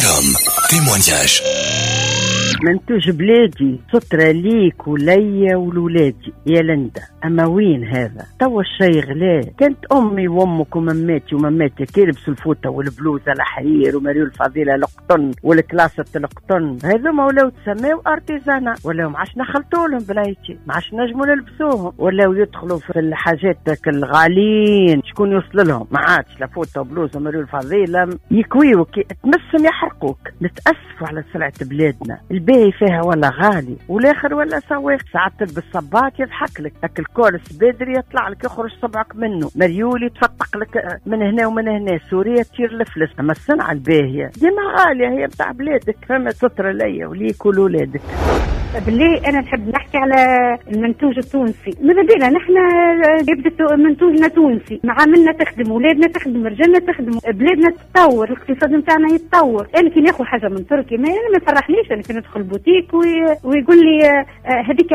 Forum témoignage. منتوج بلادي سترة ليك وليا ولولادي يا لندا. أما وين هذا؟ توا الشي غلا. كانت أمي وأمك ومماتي ومماتك يلبسوا الفوطة والبلوزة الحرير ومريول الفضيلة القطن والكلاسة القطن، هذوما ولاو تسماو artisanat، ولاو ما عادش نخلطوا لهم بلايتي، ما عادش نجموا نلبسوهم، ولاو يدخلوا في الحاجات الغاليين، شكون يوصل لهم؟ ما عادش لا فوطة وبلوزة ومريول الفضيلة، يكويوك تمسهم يحرقوك. نتأسفوا على سلعة بلادنا، الباهي فيها ولا غالي والاخر ولا سواق. ساعات تلبس صباط يضحك لك، اكل col سبادري يطلع لك يخرج صبعك منه، مريول يتفتق لك من هنا ومن هنا، سوريا تطير الفلس. اما الصنعة الباهيه ديما غالية، هي بتاع بلادك، فما ستره ليا وليك ولولادك. بالله انا نحب نحكي على المنتوج التونسي. ماذا بينا نحن يبدا منتوجنا تونسي، معاملنا تخدم، ولادنا تخدم، رجالنا تخدم، بلادنا تتطور، الاقتصاد نتاعنا يتطور. انا كي ناخذ حاجة من تركيا ما انا ما يفرحنيش. انا كي ندخل بوتيك ويقول لي هذيك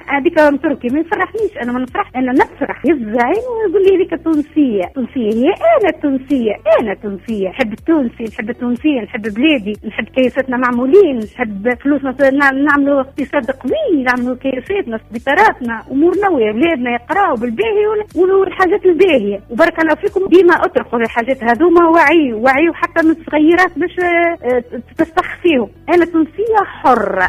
هذيك من تركيا ما يفرحنيش. انا ما نفرح، انا نفرح يفزعين ويقول لي هذيك تونسية. تونسية هي انا تونسية، انا تونسية، نحب التونسي، نحب التونسية، نحب بلادي، نحب كيفاتنا معمولين، نحب فلوسنا نعملوا اقتصاد قوي، نعملوا كيفاتنا، سبيطاراتنا، امورنا، وولادنا يقراوا بالباهي والحاجات الباهيه. وبارك الله فيكم، ديما اطرقوا الحاجات هذوما، وعيوا حتى من الصغيرات باش تستخ فيهم. انا تونسية حره.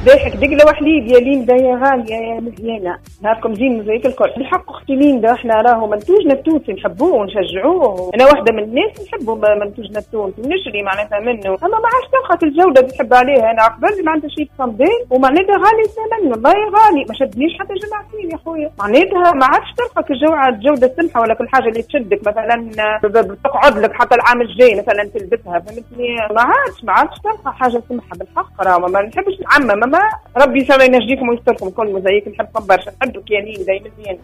ضحك دقله وحليب يا ليندا يا غالية يا مزيانه، نهاركم زين زيك الكل. بالحق اختي ليندا، احنا راهو منتوجنا التونسي نحبوه ونشجعوه. انا واحدة من الناس نحبوا منتوجنا التونسي ونشري معناتها منه، اما ما عادش تلقى الجودة اللي تحب عليها. انا قبل معناتها شريت صندال ومعناتها غالي ثمن، والله غالي، ما شدنيش حتى جمعتين يا خويا. معناتها ما عادش تلقى الجودة السمحة ولا كل حاجة اللي تشدك مثلا تقعد لك حتى العام الجاي مثلا تلبسها، فهمتني؟ ما عادش تلقى حاجة سمحه بالحق. راه ما نحبش نعمم، ما ربي ان شاء الله ينجيكم ويستركم كل موزايك. نحبكم برشا، نحبك يا ليندا يا مزيان.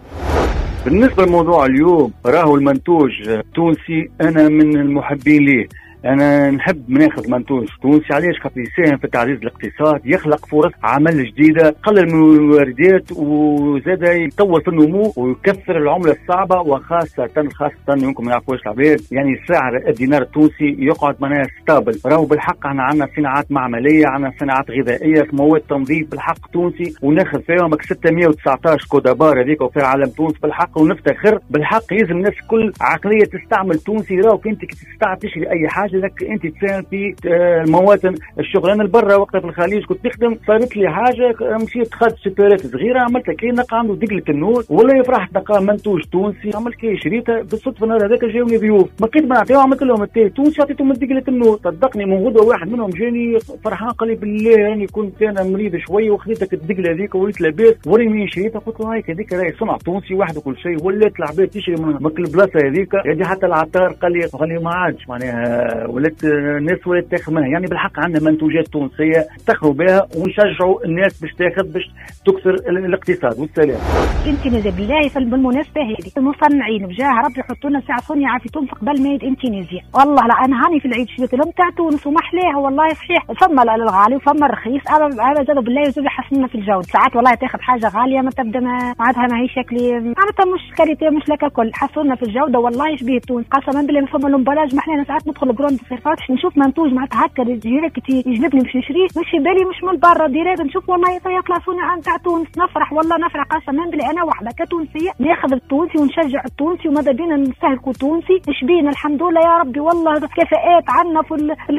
بالنسبة لموضوع اليوم، راهو المنتوج التونسي انا من المحبين ليه. انا نحب ناخذ منتوج تونسي. علاش؟ خاطر يساهم في تعزيز الاقتصاد، يخلق فرص عمل جديدة، قلل من الواردات، وزاد يطور في النمو ويكثر العملة الصعبة، وخاصة خاصة يمكن ما يعرفوش العباد، يعني سعر الدينار التونسي يقعد معناها stable. راهو بالحق احنا عندنا صناعات معمليه، عندنا صناعات غذائية، مواد تنظيف بالحق تونسي وناخذ فيهم 619 code à barres هذيك وفي عالم تونس بالحق، ونفتخر بالحق. يلزم الناس كل عقلية تستعمل تونسي. راهو انت كي تستعمل تشري اي حاجة لك انت تساهم في المواطن الشغل. انا البرة وقتها في الخليج كنت نخدم، صارت لي حاجة، مشيت دخلت supérette صغيرة، عملت كي نلقى عنده دقله النور، ولا فرحت نلقى منتوج تونسي، عملت كي شريتها بالصدفة. النهار هذاك جاوني ضيوف، ما لقيت ما نعطيهم، عملت لهم التاي تونسي، عطيتهم دقله النور. صدقني من غدوه واحد منهم جاني فرحان قال لي بالله راني كنت انا مريض شوية وخذيتك الدقله هذيك وليت لاباس، وريني منين شريتها. قلت له هايك هذيك راهي صنع تونسي واحد وكل شيء. ولات العباد تشري من البلاصة هذيك، يعني حتى العطار قال لي ما عادش معناها ولات الناس ولات تاخذ منها. يعني بالحق عندنا منتوجات تونسية تاخذوا بها ونشجعوا الناس باش تاخذ باش تكثر الاقتصاد. والسلام. Indonésie بالله بالمناسبة هذه المصنعين بجاه ربي يحطوا لنا ساعة صنع في تونس قبل made in Tunisia. والله لا انا هاني في العيد شريت لهم تاع تونس ومحلاها والله صحيح. فما الغالي وفما الرخيص، انا زادوا بالله يزيدوا يحسننا في الجودة. ساعات والله تاخذ حاجة غالية ما تبدا معناتها ماهي شكلي معناتها مش qualité مش لك الكل. حسونا في الجودة والله شبيه تونس قسما بالله. فما l'emballage محلانا. ساعات ندخل grande surface نشوف منتوج معناتها هكا direct يجذبني باش نشريه، مش في بالي مش من برا، direct نشوف والله يطلع صنع نتاع تونس، نفرح والله نفرح قسما بالله. انا واحدة كتونسيه ناخذ التونسي ونشجع التونسي وماذا بينا نستهلكوا تونسي. اش بينا الحمد لله يا ربي والله كفاءات عندنا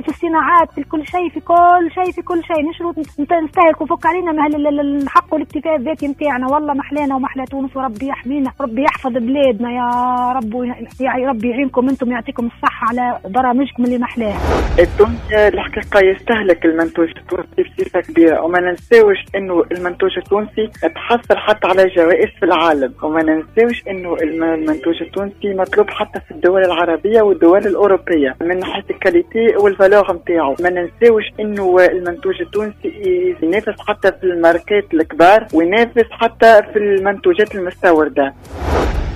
في الصناعات، في كل شيء، في كل شيء، في كل شيء نشرو نستهلكوا. فك علينا الحق والاكتفاء الذاتي نتاعنا. والله محلانا ومحلى تونس، وربي يحمينا، ربي يحفظ بلادنا يا رب، يا ربي يعينكم انتم، يعطيكم الصحة على برامجكم اللي محلاها. التونسي الحقيقة يستهلك المنتوج التونسي بصفة كبيرة، وما ننساوش انه المنتوج التونسي تحصل حتى على جوائز في العالم، وما ننساوش انه المنتوج التونسي مطلوب حتى في الدول العربية والدول الاوروبية من ناحية ال qualité وال valeur نتاعو. ما ننساوش انه المنتوج التونسي ينافس حتى في الماركات الكبار وينافس حتى في المنتوجات المستورده.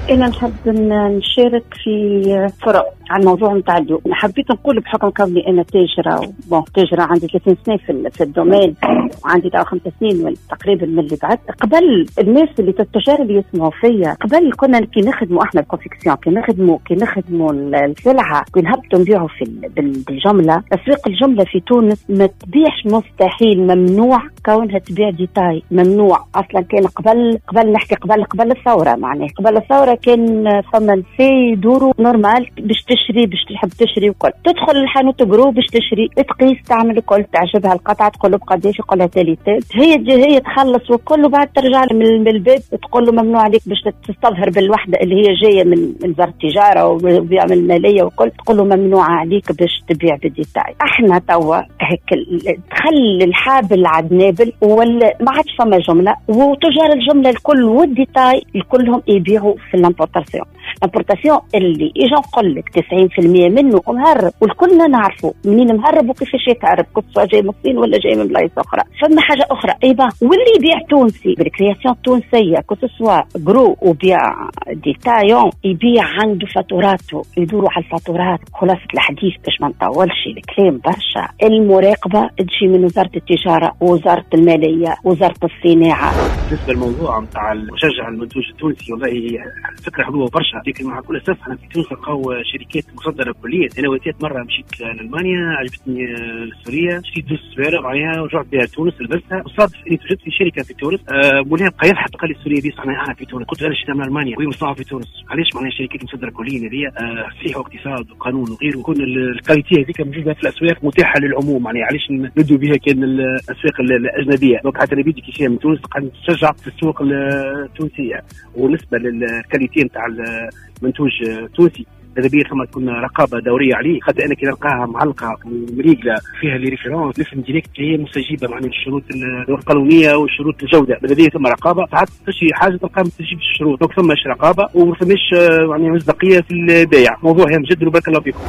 انا نحب نشارك في فرق على الموضوع نتاع اليوم. حبيت نقول بحكم كوني انا تاجره، bon تاجره عندي 30 سنة في ال domaine، وعندي 5 سنين تقريبا من اللي بعد. قبل الناس اللي التجار اللي يسمعوا فيا، قبل كنا كي نخدموا احنا ال confection، كي نخدموا السلعة، كي نهبطوا نبيعوا في بالجملة. اسواق الجملة في تونس ما تبيعش، مستحيل، ممنوع كونها تبيع détail، ممنوع اصلا. كان قبل نحكي قبل الثورة، معناها قبل الثورة كان فما نساء يدوروا normal باش تشري، باش تحب تشري وكل، تدخل الحانوت gros باش تشري، تقيس، تعمل الكل، تعجبها القطعة تقول له بقداش، يقول لها telle telle، هي تخلص وكل، وبعد ترجع من الباب تقول له ممنوع عليك باش تستظهر بالوحدة اللي هي جاية من وزارة التجارة وبيعمل المالية وكل، تقول له ممنوع عليك باش تبيع بال détail. احنا توا هيك دخل الحابل على النابل، ولا ما عادش فما جملة، وتجار الجملة الكل وال détail الكلهم يبيعوا في l'importation. l'importation اللي اجا نقول لك 90% منه مهرب، والكلنا نعرفوا منين مهرب وكيفاش يتهرب، que ce soit جاي من الصين ولا جاي من بلايص اخرى. فما حاجة اخرى ايضا، واللي يبيع تونسي بال création التونسية que ce soit gros وبيع détaillant، يبيع عنده فاتوراته، يدوروا على الفاتورات. خلاصه الحديث باش ما نطولش الكلام برشا، المراقبة تجي من وزارة التجارة ووزارة المالية وزارة الصناعة. بالنسبة للموضوع نتاع مشجع المنتوج التونسي، والله فكرة حلوة برشا، لكن مع كل اسف احنا في تونس نلقاو شركات مصدره كليا. انا واتيت مرة مشيت لالمانيا، عجبتني سوريا، شريت زوج سوارع معناها ورجعت بها تونس، لبستها، وصادف اني توجدت في شركة في تونس. مولاها بقى يضحك، قال لي السورية دي صنعها في تونس. قلت له انا شريتها من المانيا وهي مصنوعة في تونس. علاش معناها شركات مصدره كليا هذه؟ صحيح واقتصاد وقانون وغيره، يكون ال qualité هذيك موجودة في الاسواق متاحة للعموم، معناها علاش ندوا بها كان الاسواق الاجنبية؟ donc حتى نبيدي كي شيء من تونس قاعد نشجع في السوق التونسية. وبالنسبة لل qualité نتاع المنتوج التونسي، ماذا بيا ثم تكون رقابه دورية عليه، خاطر انا كي نلقاها معلقه ومريقله فيها les références نفهم direct هي مستجيبه معناها الشروط القانونية وشروط الجودة. ماذا بيا ثم رقابه، ساعات تشري حاجة تلقاها ما تستجيبش الشروط، donc ثماش رقابه وما ثماش يعني مصداقية في البيع. موضوع هام جدا وبارك الله فيكم.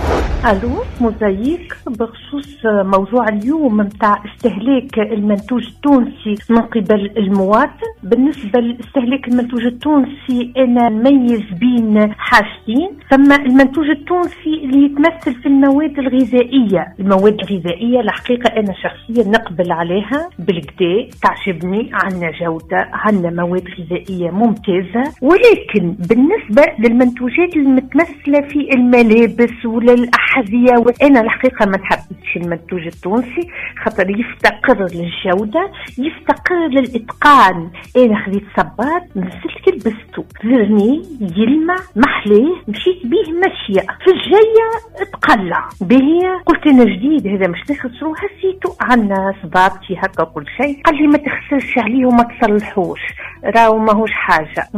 الو موزايك، بخصوص موضوع اليوم نتاع استهلاك المنتوج التونسي من قبل المواطن. بالنسبة لاستهلاك المنتوج التونسي انا نميز بين حاجتين. ثم المنتوج التونسي اللي يتمثل في المواد الغذائية. المواد الغذائية الحقيقة أنا شخصيا نقبل عليها بالكدا، تعجبني، عندنا جودة، عندنا مواد غذائية ممتازة. ولكن بالنسبة للمنتوجات المتمثلة في الملابس ولا الأحذية، وأنا الحقيقة ما نحبش المنتوج التونسي خاطر يفتقر للجودة، يفتقر للإتقان. أنا خذيت صباط نزلت لبسته verni يلمع محليه، مشيت به ماشية في الجاية تقلع به، قلت انا جديد هذا مش نخسرو، هسيتو عندنا صبابتي هكا كل شيء. قال لي ما تخسرش عليه وما تصلحوش، راهو ماهوش حاجة.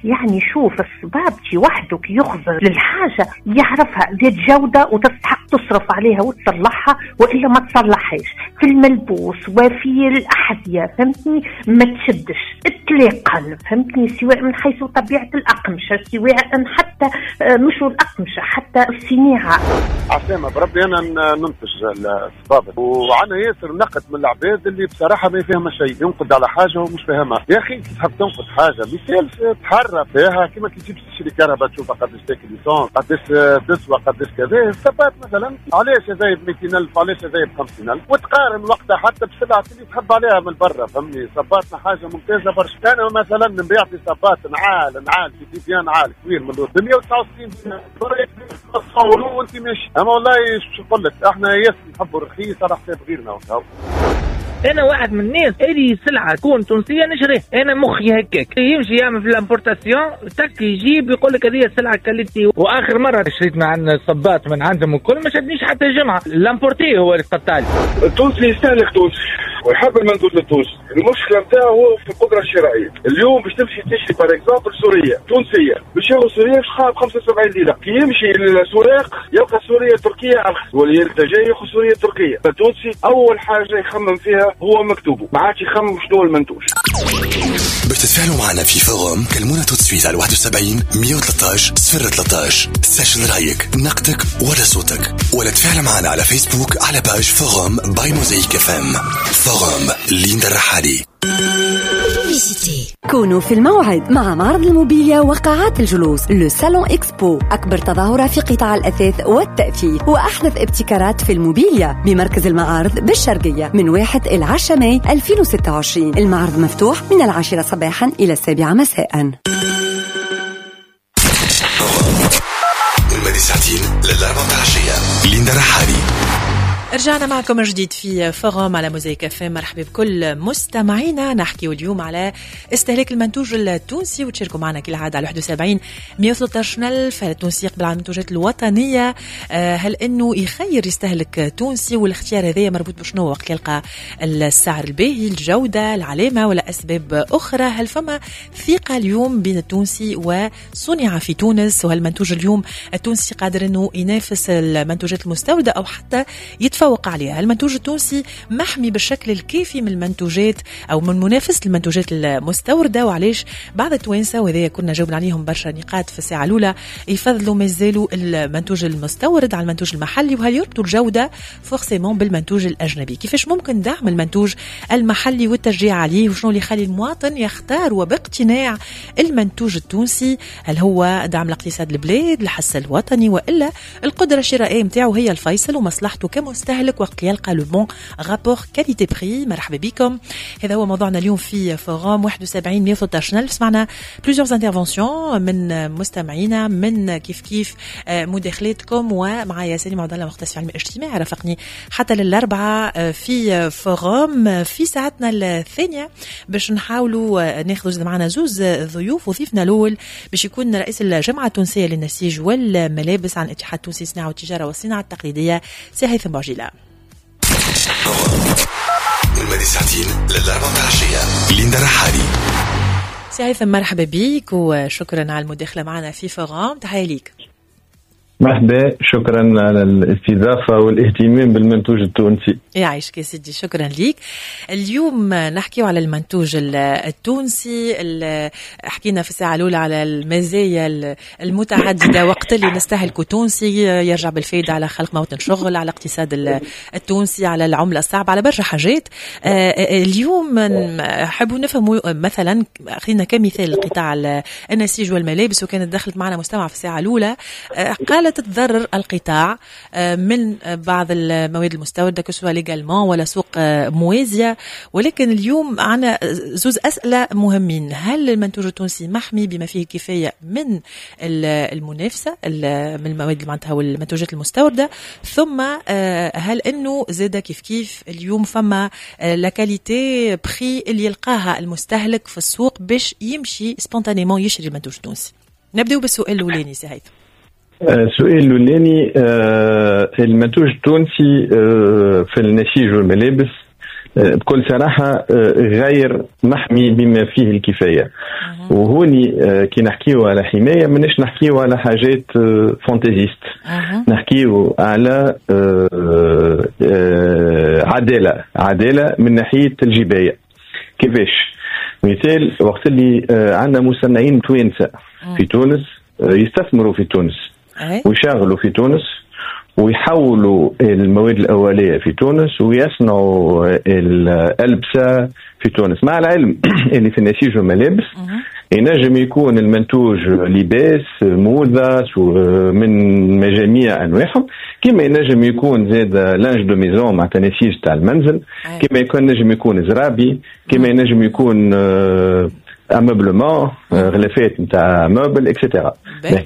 يعني شوف الصبابتي وحده كي يخزر للحاجة يعرفها ذات جوده وتستحق تصرف عليها وتصلحها والا ما تصلحهاش. في الملبوس وفي الاحذية فهمتني ما تشدش اطلاقا، فهمتني، سواء من حيث طبيعة الاقمشة، سواء حتى مش الأقمشة، حتى الصناعة. عسلامة، بربي أنا ننتج الصبابط، وعنا ياسر نقد من العباد اللي بصراحة ما يفهم شيء، ينقد على حاجة ومش فاهمها. يا أخي تحب تنقد حاجة مثال تحرى فيها، كيما كي تجيب تشري كهرباء تشوفها قداش تاكل l'essence، قداش تسوى، قداش كذا. الصباط مثلا علاش هذا ب 200,000، علاش هذا ب 50,000، وتقارن وقتها حتى بسلعة اللي تحب عليها من برا، فهمني. صباطنا حاجة ممتازة برشا. أنا مثلا نبيع في صباط نعال في ديبيان نعال كبير من 169 تصوروا وانت ماشي. اما والله شو نقول لك، احنا ياسر نحبوا الرخيص على حساب غيرنا. انا واحد من الناس اللي سلعه تكون تونسية نشريه، انا مخي هكاك يمشي يعمل في l'importation تك يجيب يقول لك هذه السلعة qualité. واخر مرة شريت من عند الصباط من عندهم الكل ما شدنيش حتى جمعه، l'importé هو اللي قطع لي. التونسي يستهلك تونسي ويحب المنتوج التونسي، المشكلة نتاعو هو في القدرة الشرائية. اليوم باش تمشي تشري par exemple سورية تونسية، باش ياخذ سورية باش ب 75 دينار، كي يمشي للسوق يلقى سورية تركيه ارخص، واللي جاي ياخذ سورية تركيه. فالتونسي اول حاجة يخمم فيها هو مكتوبة، ما عادش يخمم شنو المنتوج. باش تتفاعلوا معنا في forum كلمونا tout de suite على 71 113 013. سجل رايك، نقدك ولا صوتك، ولا تفاعل معنا على فيسبوك على page forum by موزايك FM. forum ليندا الرحالي. Publicité. كونوا في الموعد مع معرض الموبيليا وقاعات الجلوس Le Salon Expo، أكبر تظاهرة في قطاع الأثاث والتأثيث وأحدث ابتكارات في الموبيليا بمركز المعارض بالشرقية من 1 إلى 10 ماي 2026. المعرض مفتوح من 10 صباحا إلى 7 مساء. من ساعتين للأربعة عشية ليندا رحالي. رجعنا معكم من جديد في Forum على موزايك اف ام. مرحبا بكل مستمعينا. نحكي اليوم على استهلاك المنتوج التونسي وتشاركوا معنا كالعادة على 71 113 ألف. هل التونسي يقبل على المنتوجات الوطنية؟ هل انه يخير يستهلك تونسي؟ والاختيار هذا مربوط بشنو وقت يلقى السعر الباهي، الجودة، العلامة، ولا اسباب اخرى؟ هل فما ثقة اليوم بين التونسي وصنع في تونس؟ وهل المنتوج اليوم التونسي قادر انه ينافس المنتوجات المستورده او حتى يتفوق عليها؟ المنتوج التونسي محمي بالشكل الكافي من المنتوجات او من منافسه المنتوجات المستورده؟ وعلاش بعض التوانسة، وهذا كنا جاوبنا عليهم برشا نقاط في الساعة الاولى، يفضلوا مازالوا المنتوج المستورد على المنتوج المحلي؟ وهل يربطوا الجودة forcément بالمنتوج الاجنبي؟ كيفاش ممكن دعم المنتوج المحلي والتشجيع عليه؟ وشنو اللي يخلي المواطن يختار وباقتناع المنتوج التونسي؟ هل هو دعم الاقتصاد البلاد، الحس الوطني، والا القدرة الشرائية نتاعو هي الفيصل ومصلحته كمستهلك وقت يلقى le bon rapport qualité prix؟ مرحبا بكم. هذا هو موضوعنا اليوم في Forum 71 113 ألف. سمعنا plusieurs interventions من مستمعينا، من كيف كيف مداخلاتكم، ومعايا سليم عبد الله مختص في علم الاجتماع رافقني حتى للأربعة في Forum. في ساعتنا الثانية باش نحاولوا ناخذ معنا زوز ضيوف، وضيفنا الأول باش يكون رئيس الجامعة التونسية للنسيج والملابس عن الاتحاد التونسي للصناعة والتجارة والصناعة التقليدية سي هيثم بوعجيلة. من ساعتين للأربعة عشية ليندا رحالي. سي هيثم مرحبا بيك وشكرا على المداخلة معنا في Forum. تحية ليك. مرحبا، شكرا على الاستضافة والاهتمام بالمنتوج التونسي. يعيشك يا سيدي، شكرا ليك. اليوم نحكي على المنتوج التونسي. حكينا في الساعة الأولى على المزايا المتعددة وقت اللي نستهلكه تونسي، يرجع بالفايدة على خلق موطن شغل، على الاقتصاد التونسي، على العملة الصعبة، على برشا حاجات. اليوم نحبوا نفهموا مثلا، خلينا كمثال قطاع النسيج والملابس، وكانت دخلت معنا مستمع في الساعة الأولى قالت تتضرر القطاع من بعض المواد المستوردة que ce soit légalement ولا سوق موازية. ولكن اليوم عنا زوز أسئلة مهمين: هل المنتوج التونسي محمي بما فيه الكفاية من المنافسة من المواد معناتها والمنتوجات المستوردة؟ ثم هل أنه زاد كيف كيف اليوم فما la qualité prix اللي يلقاها المستهلك في السوق باش يمشي spontanément يشري المنتوج التونسي؟ نبدأ بالسؤال الأولاني سي هيثم. السؤال الأولاني، المنتوج التونسي في النسيج والملابس بكل صراحة غير محمي بما فيه الكفاية. وهوني كي نحكيو على حماية ماناش نحكيو على حاجات fantaisistes، نحكيو على عدالة، عدالة من ناحية الجباية. كيفاش؟ مثال، وقت اللي عندنا مصنعين توانسة في تونس يستثمروا في تونس ويشغلوا في تونس ويحولوا المواد الأولية في تونس ويصنعوا الألبسة في تونس، مع العلم اللي في النسيج والملابس ينجم يكون المنتوج لباس، موضة من مجاميع أنواعهم، كما ينجم يكون زاد linge de maison مع نسيج تاع المنزل، كما يكون نجم يكون زرابي، كما ينجم يكون ameublement، غلافات نتاع meubles et cetera.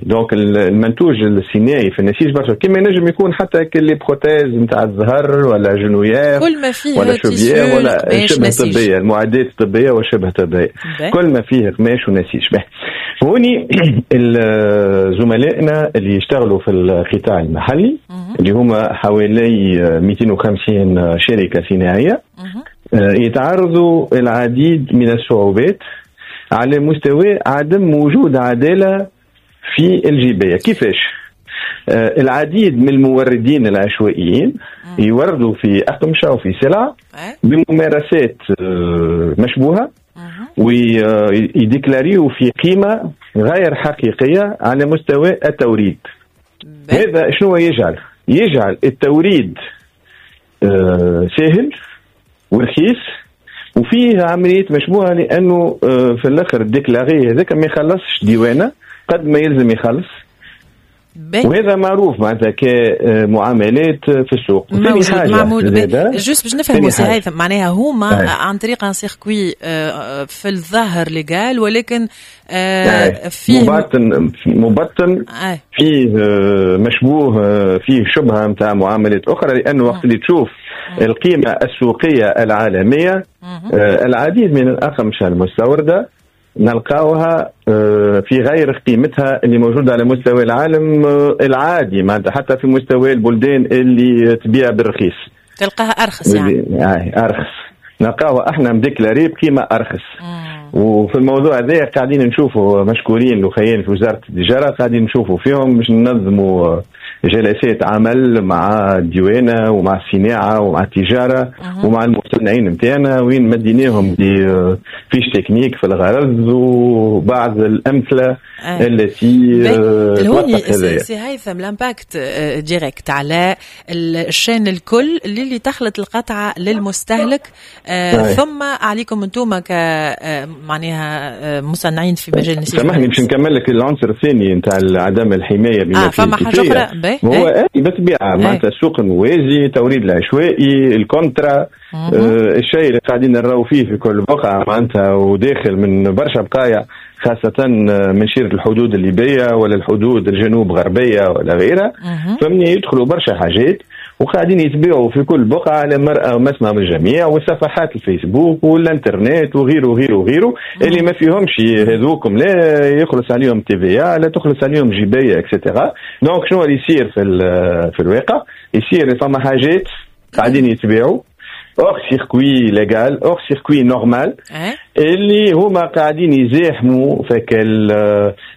donc المنتوج الصناعي في النسيج برشا، كما ينجم يكون حتى les prothèses نتاع الظهر ولا genouillère كل ما فيه ولا chauvière ولا شبه طبية، المعدات الطبية وشبه طبية، كل ما فيه قماش ونسيج. هوني زملائنا اللي يشتغلوا في القطاع المحلي اللي هما حوالي 250 شركة صناعية يتعرضوا العديد من الصعوبات على مستوى عدم وجود عدالة في الجباية. كيفاش؟ العديد من الموردين العشوائيين يوردوا في أقمشة وفي سلع بممارسات مشبوهة ويديكلاريو في قيمة غير حقيقية على مستوى التوريد. هذا شنو يجعل؟ يجعل التوريد سهل ورخيص وفيه عمليات مشبوهة لانه في الاخر ال déclaré هذاك ما يخلصش ديوانه قد ما يلزم يخلص. وهذا معروف معناتها كمعاملات في السوق. معمول juste باش نفهموا سي هيثم، معناها هما عن طريق un circuit في الظاهر légal، ولكن فيه مبطن فيه مشبوه، فيه شبهه نتاع معاملات اخرى، لانه وقت اللي تشوف القيمة السوقية العالمية العديد من الاقمشة المستورده نلقاوها في غير قيمتها اللي موجودة على مستوى العالم العادي، معناتها حتى في مستوى البلدان اللي تبيع بالرخيص تلقاها أرخص، يعني أرخص، نلقاوها احنا مديكلاري بقيمة أرخص. وفي الموضوع هذا قاعدين نشوفوا مشكورين الأخيين في وزارة التجارة، قاعدين نشوفوا فيهم باش ننظموا جلسات عمل مع الديوانة ومع الصناعة ومع التجارة ومع المصنعين نتاعنا، وين مديناهم des fiches techniques في الغرض وبعض الأمثلة التي توثق هذا. سي هيثم، l'impact direct على ال chaîne الكل اللي تخلط القطعة للمستهلك، ثم عليكم انتم ك معناها مصنعين في مجال النسيج. سامحني باش نكمل لك العنصر الثاني نتاع عدم الحماية بما فما حاجة أخرى هو بالطبيعة معناتها السوق الموازي، التوريد العشوائي، ال contre، الشيء اللي قاعدين نراو فيه في كل بقعة معناتها، وداخل من برشا بقايع خاصة من شيرة الحدود الليبية ولا الحدود الجنوب غربية ولا غيرها، فمني يدخلوا برشا حاجات وقاعدين يتبيعوا في كل بقعة على مرأى ومسمع من الجميع، وصفحات الفيسبوك والانترنت وغيره وغيره وغيره، اللي ما فيهمش هذوكم لا يخلص عليهم TVA، لا تخلص عليهم جباية et cetera. donc شنو اللي يصير في الواقع؟ يصير فما حاجات قاعدين يتبيعوا hors circuit légal، hors circuit normal، اللي هما قاعدين يزاحموا فك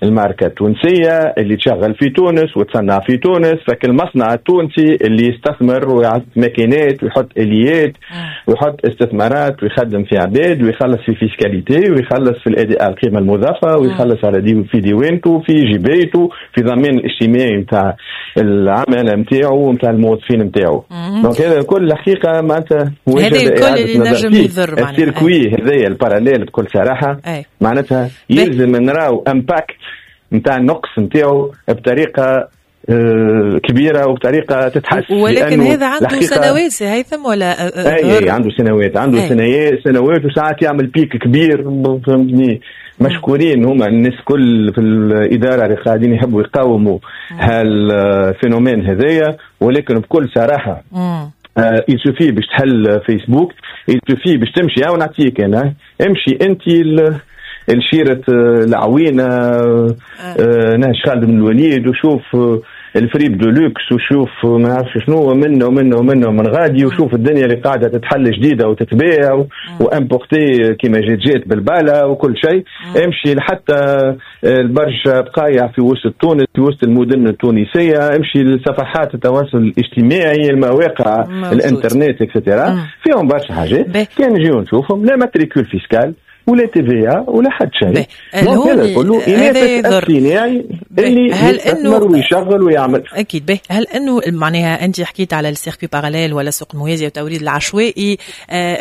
الماركة التونسية اللي تشغل في تونس وتصنع في تونس، فك المصنع التونسي اللي يستثمر ويحط ماكينات ويحط اليات ويحط استثمارات ويخدم في عباد ويخلص في fiscalité ويخلص في الاداء القيمة المضافة ويخلص على دي في ديوانته في جبايته في ضمان الاجتماعي نتاع العمالة نتاعو ونتاع الموظفين نتاعو. donc هذا كل الحقيقة معناتها هذا الكل اللي نجم يضر معناتها ال circuit هذايا ال parallèle بكل صراحة. معناتها يلزم نراو impact نتاع النقص نتاعو بطريقة كبيرة وبطريقة تتحسن. ولكن هذا عنده سنوات سي هيثم ولا؟ اي عنده سنوات، عنده سنوات وساعات يعمل pic كبير، فهمتني. مشكورين هما الناس كل في الادارة اللي قاعدين يحبوا يقاوموا هال phénomène هذايا، ولكن بكل صراحة il suffit باش تحل فيسبوك، il suffit باش تمشي، ونعطيك انا امشي انت الشيرة العوينة نهج خالد بن الوليد وشوف ال fripe de luxe وشوف ما نعرفش شنو منه ومنه ومنه من غادي، وشوف الدنيا اللي قاعدة تتحل جديدة وتتباع و importé كيما جات بالباله وكل شيء. امشي لحتى البرشا بقايع في وسط تونس، في وسط المدن التونسية، امشي لصفحات التواصل الاجتماعي، المواقع، الانترنت et cetera، فيهم برشا حاجات كان نجيو نشوفهم، لا matricule fiscal ولا TVA ولا حد شيء. هذا كله ينافس الصناعي اللي يستثمر ويشغل ويعمل. اكيد. به هل انه معناها انت حكيت على ال circuit parallèle ولا السوق الموازي والتوريد العشوائي،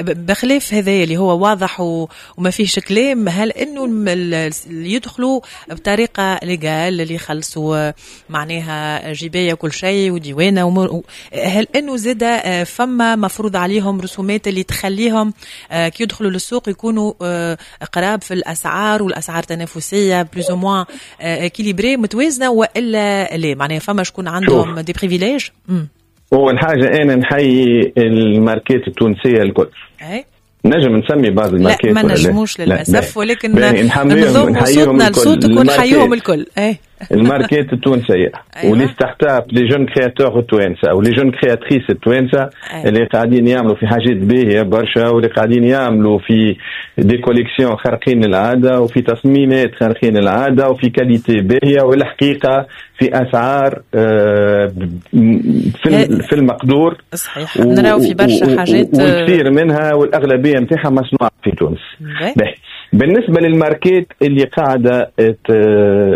بخلاف هذا اللي هو واضح وما فيهش كلام، هل انه اللي يدخلوا بطريقة légale اللي يخلصوا معناها جبايه وكل شيء وديوانه، هل انه زاد فما مفروض عليهم رسومات اللي تخليهم كي يدخلوا للسوق يكونوا قراب في الاسعار والاسعار تنافسية plus ou moins équilibrée متوازنة والا لا؟ معناها فما شكون عندهم des privilèges؟ اول حاجة انا نحيي الماركات التونسية الكل. نجم نسمي بعض الماركات؟ لا ما نجموش للاسف، ولكن نضم صوتنا لصوتك ونحييهم الكل. الماركات التونسية. و les startups، les jeunes créateurs التوانسة و les jeunes créatrices التوانسة اللي قاعدين يعملوا في حاجات باهيه برشا، واللي قاعدين يعملوا في des collections خارقين العادة وفي تصميمات خارقين العادة وفي qualité باهيه، والحقيقة في اسعار في المقدور. صحيح، نراو في برشا حاجات والكثير منها والاغلبيه نتاعها مصنوعة في تونس. بالنسبة للماركات اللي قاعدة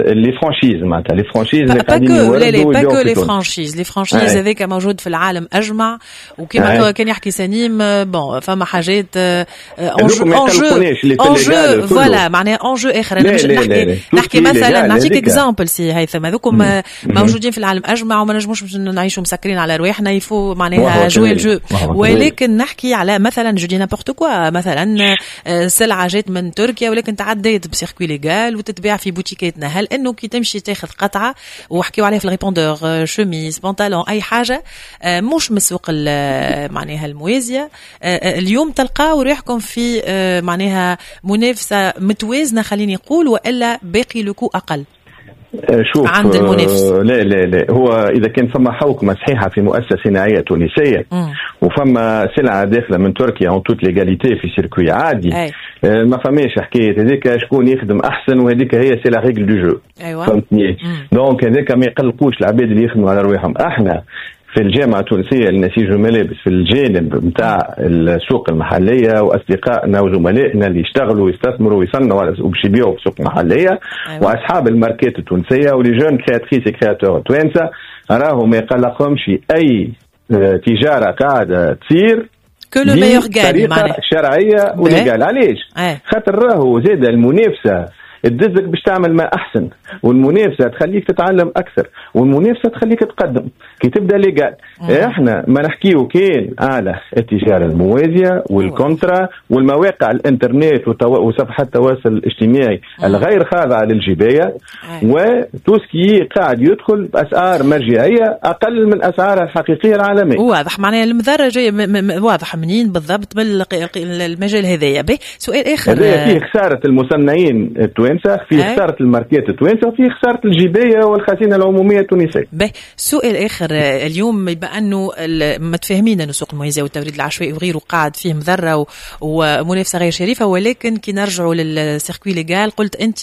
les franchises، معناتها les franchises اللي قاعدين يوردوا، pas que les franchises، les franchises هذاك موجود في العالم اجمع. وكما كان يحكي سليم، bon فما حاجات enjeu enjeu voilà، معناها enjeu اخر. انا مش نحكي مثلا، نعطيك exemple سي هيثم، هذوكم موجودين في العالم اجمع وما نجموش نعيشوا مسكرين على رواحنا، il faut معناها jouer le jeu. ولكن نحكي على مثلا، je dis n'importe quoi، مثلا سلعه جات من تركيا ولكن تعديت ب circuit légal وتتباع في بوتيكاتنا، هل انه كي تمشي تاخذ قطعه، وحكيو عليها في ال répondeur، chemise، pantalon، اي حاجة مش من السوق معناها الموازيه، اليوم تلقاو روحكم في معناها منافسه متوازنة خليني نقول، والا باقي le coût اقل؟ شوف، عند المنافس. لا لا لا، هو اذا كان فما حوكمة صحيحه في مؤسسة صناعية تونسية وفما سلعه داخله من تركيا en toute légalité في circuit عادي، ما فماش حكاية هذيك شكون يخدم احسن، وهذيك هي c'est la règle du jeu. فهمتني؟ donc هذاك ما يقلقوش العباد اللي يخدموا على رواحهم. احنا في الجامعة التونسية للنسيج والملابس في الجانب نتاع السوق المحلية، وأصدقائنا وزملائنا اللي يشتغلوا ويستثمروا ويصنعوا وباش يبيعوا في السوق المحلية، وأصحاب الماركات التونسية و les jeunes créatrices créateurs توانسة، راهم ما يقلقهمش أي تجارة قاعدة تصير que le meilleur gagne، بطريقة شرعية و légale. علاش؟ خاطر راهو زاد المنافسة تدزك باش تعمل ما احسن، والمنافسه تخليك تتعلم اكثر، والمنافسه تخليك تقدم كي تبدا légal. احنا ما نحكيو كان على التجارة الموازيه وال contre والمواقع الانترنت وصفحات التواصل الاجتماعي الغير خاضعة للجبايه، و tout ce qui قاعد يدخل باسعار مرجعية اقل من اسعارها الحقيقية العالمية. واضح معناها المضرة جاية، واضح منين بالضبط من المجال هذايا. سؤال اخر، هذا فيه خسارة المصنعين التوانسة، في خسارة الماركات التوانسة، وفي خسارة الجبايه والخزينه العمومية التونسية. باهي، سؤال اخر اليوم، بما انه متفاهمين انه سوق الموازيه والتوريد العشوائي وغيره قاعد فيه مضرة ومنافسه غير شريفه، ولكن كي نرجعوا لل circuit légal قلت انت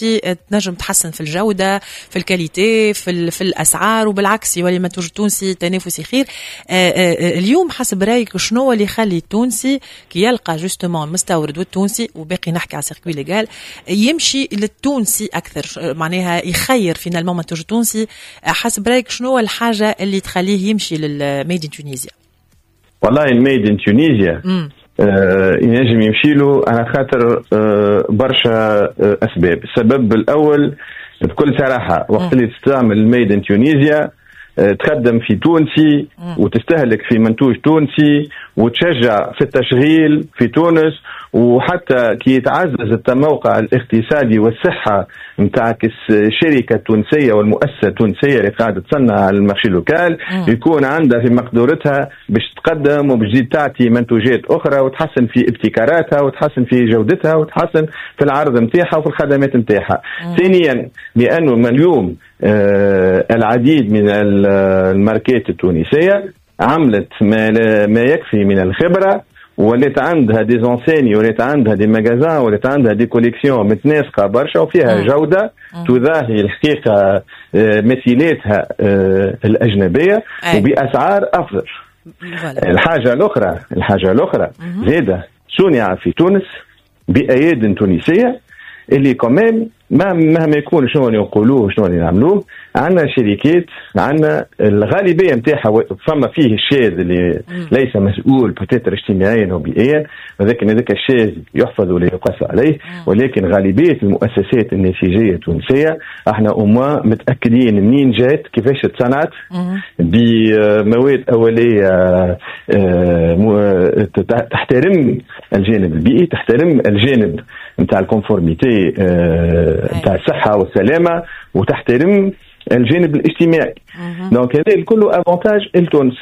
تنجم تحسن في الجودة، في ال qualité، في الاسعار، وبالعكس يولي المنتوج التونسي تنافسي خير. اليوم حسب رايك شنو اللي يخلي التونسي كي يلقى justement المستورد والتونسي، وباقي نحكي على circuit légal، يمشي للتونسي اكثر، معناها يخير finalement منتوج التونسي؟ حسب رايك شنو الحاجة اللي تخليه يمشي لل made in Tunisia؟ والله ال made in Tunisia ينجم يمشي له على خاطر برشا اسباب. السبب الاول بكل صراحة، وقت اللي تستعمل ال made in Tunisia تخدم في تونسي وتستهلك في منتوج تونسي وتشجع في التشغيل في تونس، وحتى كي يتعزز التموقع الاقتصادي والصحة نتاع الشركة التونسية والمؤسسة التونسية اللي قاعدة تصنع على ال marché local، يكون عندها في مقدورتها باش تقدم وباش تزيد تعطي منتوجات أخرى وتحسن في ابتكاراتها وتحسن في جودتها وتحسن في العرض نتاعها وفي الخدمات نتاعها. ثانيا، لأنه من اليوم العديد من الماركات التونسية عملت ما يكفي من الخبرة، ولات عندها des enseignes، ولات عندها des magasins، ولات عندها des collections متناسقه برشا وفيها جوده تضاهي الحقيقة مثيلاتها الاجنبية وباسعار افضل. الحاجة الاخرى زاده صنع في تونس باياد تونسية اللي كمان مهما يكون شنو اللي نقولوه شنو اللي نعملوه، عندنا شركات، عندنا الغالبية نتاعها فما فيه الشاذ اللي ليس مسؤول peut-être اجتماعيا وبيئيا، ولكن هذاك الشاذ يحفظ ولا يقاس عليه، ولكن غالبية المؤسسات النسيجيه التونسية احنا au moins متاكدين منين جات، كيفاش تصنعت، بمواد اوليه تحترم الجانب البيئي، تحترم الجانب نتاع ال conformité نتاع الصحة والسلامة، وتحترم الجانب الاجتماعي. donc هذا الكل avantage لتونس.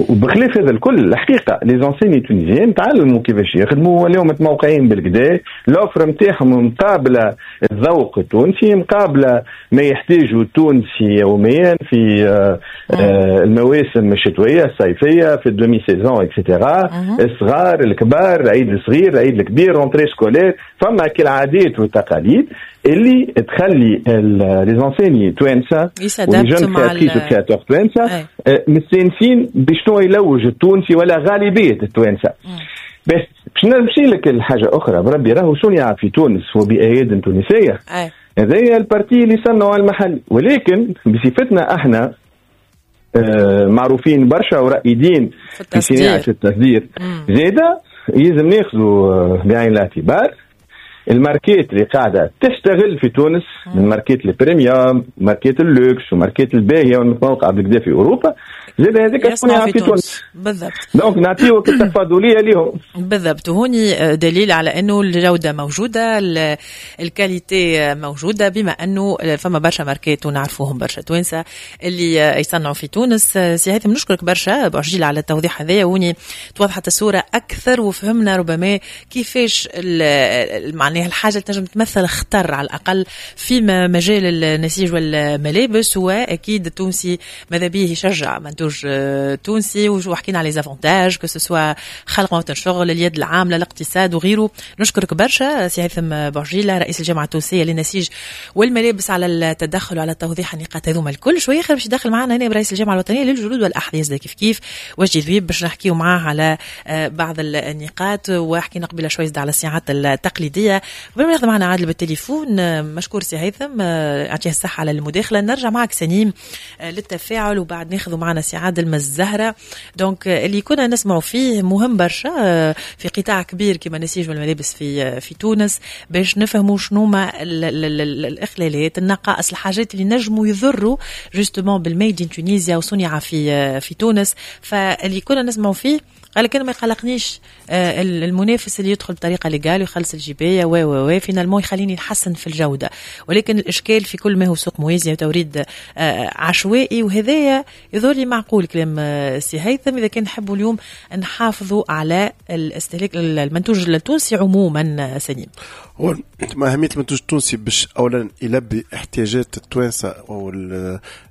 وبخلاف هذا الكل الحقيقة les enseignes tunisiennes تعلموا كيفاش يخدموا، ولاو متموقعين بالكدا، l'offre نتاعهم مقابله الذوق التونسي، مقابله ما يحتاجه التونسي يوميا في المواسم الشتوية الصيفية، في ال demi-saison et cetera، الصغار الكبار، العيد الصغير العيد الكبير، rentrée scolaire. فما كالعادات والتقاليد اللي تخلي les enseignes توانسة و les jeunes créatrices créateurs توانسة مستانسين بشنو يلوج التونسي ولا غالبية التوانسة. بس باش نمشي لك لحاجة اخرى بربي، راهو صنع في تونس وباياد تونسية. هذايا ال partie اللي صنعوا المحل، ولكن بصفتنا احنا معروفين برشا ورائدين في صناعة التصدير، زاده يلزم ناخذوا بعين الاعتبار الماركات اللي قاعدة تشتغل في تونس، من ماركات ال premium، ماركات اللوكس، وماركات الباهيه والمتموقعه بالكدا في اوروبا، زاد هذاك صنع في تونس. بالضبط. donc نعطيوك التفاضليه ليهم. بالضبط، وهوني دليل على انه الجودة موجودة، ال qualité موجودة، بما انه فما برشا ماركات ونعرفوهم برشا توانسة اللي يصنعوا في تونس. سي هيثم نشكرك برشا بوعجيل على التوضيح هذايا، وهوني توضحت الصورة اكثر وفهمنا ربما كيفاش معناها الحاجة اللي تنجم تمثل خطر على الاقل في مجال النسيج والملابس. واكيد التونسي ماذا به يشجع منتوج تونسي، وحكينا على les avantages que ce soit خلق مواطن شغل، اليد العاملة، الاقتصاد وغيره. نشكرك برشا سي هيثم بوعجيله رئيس الجامعة التونسية للنسيج والملابس على التدخل وعلى توضيح النقاط هذوما الكل. شوية اخر باش يدخل معنا هنا رئيس الجامعة الوطنية للجلود والاحذيه كيف كيف وجدي ذويب باش نحكيو معاه على بعض النقاط، وحكينا قبل شوية على الصناعات التقليدية. قبل ما ناخذ معنا عادل بالتليفون، مشكور سي هيثم يعطيه الصحة على المداخلة. نرجع معك سنيم للتفاعل وبعد ناخذ معنا سي عادل من الزهرة. donc اللي كنا نسمعوا فيه مهم برشا في قطاع كبير كما نسيج والملابس في تونس، باش نفهموا شنو ما الاخلالات، النقائص، الحاجات اللي نجموا يضروا justement بال made in Tunisia وصنع في تونس. فاللي كنا نسمعوا فيه قال لك انا ما يقلقنيش المنافس اللي يدخل بطريقة légale ويخلص الجبايه و و و finalement يخليني نحسن في الجودة، ولكن الاشكال في كل ما هو سوق موازي وتوريد عشوائي، وهذايا يظهر لي معقول كلام سي هيثم اذا كان نحبوا اليوم نحافظوا على الاستهلاك المنتوج التونسي عموما. سليم، هو اهمية المنتوج التونسي باش اولا يلبي احتياجات التوانسة او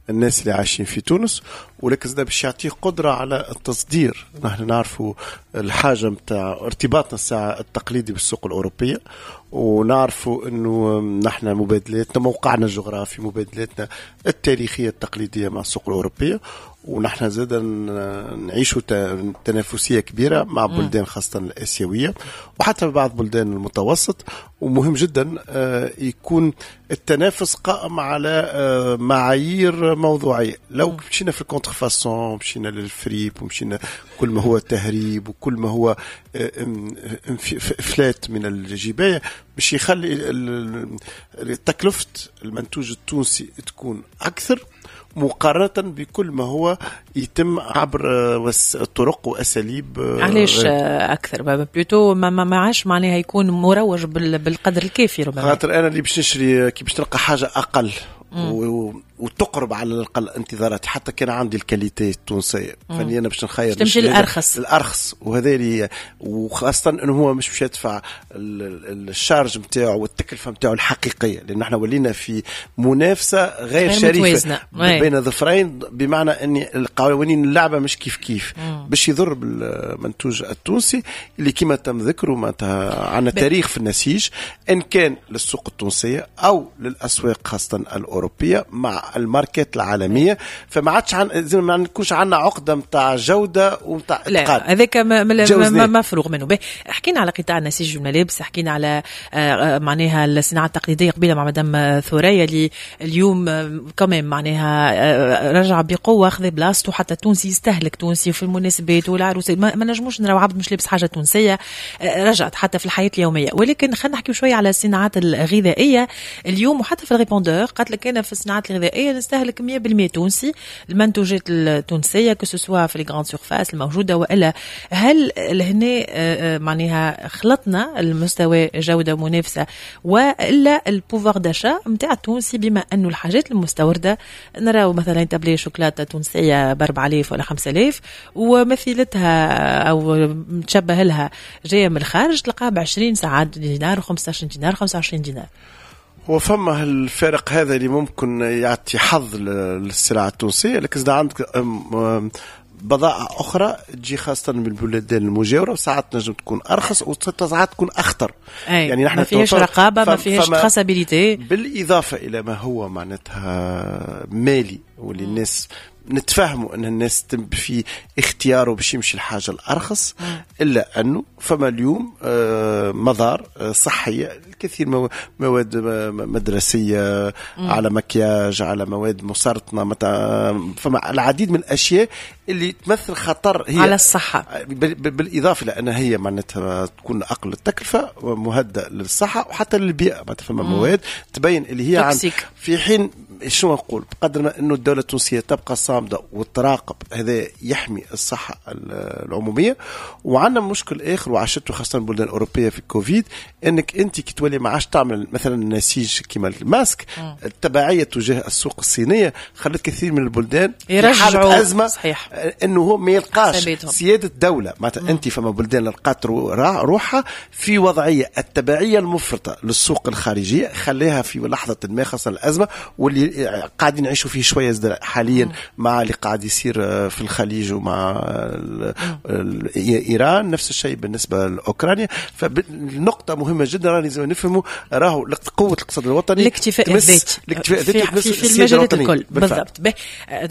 الناس اللي عايشين في تونس، ولكن زاد باش يعطيه قدره على التصدير. نحن نعرفوا الحاجة نتاع ارتباطنا الساعة التقليدي بالسوق الاوروبية، ونعرفوا انه نحن مبادلاتنا، موقعنا الجغرافي، مبادلاتنا التاريخية التقليدية مع السوق الاوروبية، ونحن زاد نعيشوا تنافسية كبيرة مع بلدان خاصة الاسيوية وحتى بعض بلدان المتوسط. ومهم جدا يكون التنافس قائم على معايير موضوعية. لو مشينا في ال contrefaçon، مشينا للفريب، ومشينا كل ما هو تهريب وكل ما هو افلات من الجبايه، باش يخلي تكلفة المنتوج التونسي تكون اكثر مقارنة بكل ما هو يتم عبر طرق وأساليب. علاش أكثر؟ plutôt ما عادش معناها يكون مروج بالقدر الكافي ربما. خاطر أنا اللي باش نشري كي باش تلقى حاجة أقل وتقرب على الأقل انتظاراتي، حتى كان عندي ال qualité التونسية، فاني أنا باش نخير تمشي الأرخص الأرخص، وهذا اللي وخاصة أنه هو مش باش يدفع ال charge نتاعو والتكلفة نتاعو الحقيقية، لأن احنا ولينا في منافسة غير شريفة بين ظفرين، بمعنى أن القوانين اللعبة مش كيف كيف، باش يضر بالمنتوج التونسي اللي كما تم ذكره معناتها عندنا تاريخ في النسيج، إن كان للسوق التونسية أو للأسواق خاصة الأوروبية مع الماركات العالمية. فما عادش زي ما نكونش عندنا عقده نتاع جوده ونتاع اتقان، هذاك مفروغ منه. حكينا على قطاع النسيج والملابس، حكينا على معناها الصناعة التقليدية قبيلة مع مدام ثريا اللي اليوم كمان معناها رجع بقوة، اخذ بلاصته، حتى التونسي يستهلك تونسي في المناسبات والعروسات، ما نجموش نراو عبد مش لابس حاجة تونسية، رجعت حتى في الحياة اليومية. ولكن خلينا نحكي شوية على الصناعات الغذائية اليوم، وحتى في ال répondeur قالت لك انا في الصناعات الغذائية نستهلك 100% تونسي، المنتوجات التونسية que ce soit في les grandes surfaces الموجودة، والا هل لهنا معناها خلطنا المستوى جوده ومنافسه والا ال pouvoir d'achat نتاع التونسي، بما انه الحاجات المستورده نراو مثلا tablette شوكولاتة تونسية ب 4000 ولا 5000 ومثيلتها او متشبه لها جاية من الخارج تلقاها ب 20 ساعات دينار و15 دينار 25 دينار. وفما الفارق هذا اللي ممكن يعطي حظ للسلعة التونسية، لكن إذا عندك بضائع أخرى تجي خاصة من البلدان المجاورة، وساعات نجم تكون أرخص وساعات تكون أخطر. يعني نحن ما فيهاش رقابة، ما فيهاش traçabilité، بالإضافة إلى ما هو معناتها مالي واللي الناس نتفاهموا ان الناس في اختياره باش يمشي الحاجة الارخص، الا انه فما اليوم مضار صحية، الكثير مواد مدرسيه على مكياج، على مواد مسرطنه، فما العديد من الاشياء اللي تمثل خطر هي على الصحة، بالاضافة لان هي معناتها تكون اقل التكلفة ومهدئه للصحة وحتى للبيئة، معناتها فما مواد تبين اللي هي في حين شنو نقول، بقدر ما انه الدولة التونسية تبقى صامده وتراقب، هذا يحمي الصحة العمومية. وعندنا مشكل اخر وعشته خاصة البلدان الاوروبية في الكوفيد، انك انت كي تولي ما عادش تعمل مثلا النسيج كيما الماسك، التبعية تجاه السوق الصينية خلت كثير من البلدان يرجعوا ازمة. صحيح. انه هو ما يلقاش سيادة دولة، معناتها انت فما بلدان لقات روحها في وضعية التبعية المفرطة للسوق الخارجية، خليها في لحظة ما خاصة الازمة واللي قاعدين نعيشوا فيه شوية حاليا مع اللي قاعد يصير في الخليج ومع ايران، نفس الشيء بالنسبة لاوكرانيا. فالنقطه مهمة جدا راني لازم نفهموا راهو قوة الاقتصاد الوطني، الاكتفاء الذاتي، الاكتفاء الذاتي في المجالات الكل. بالضبط.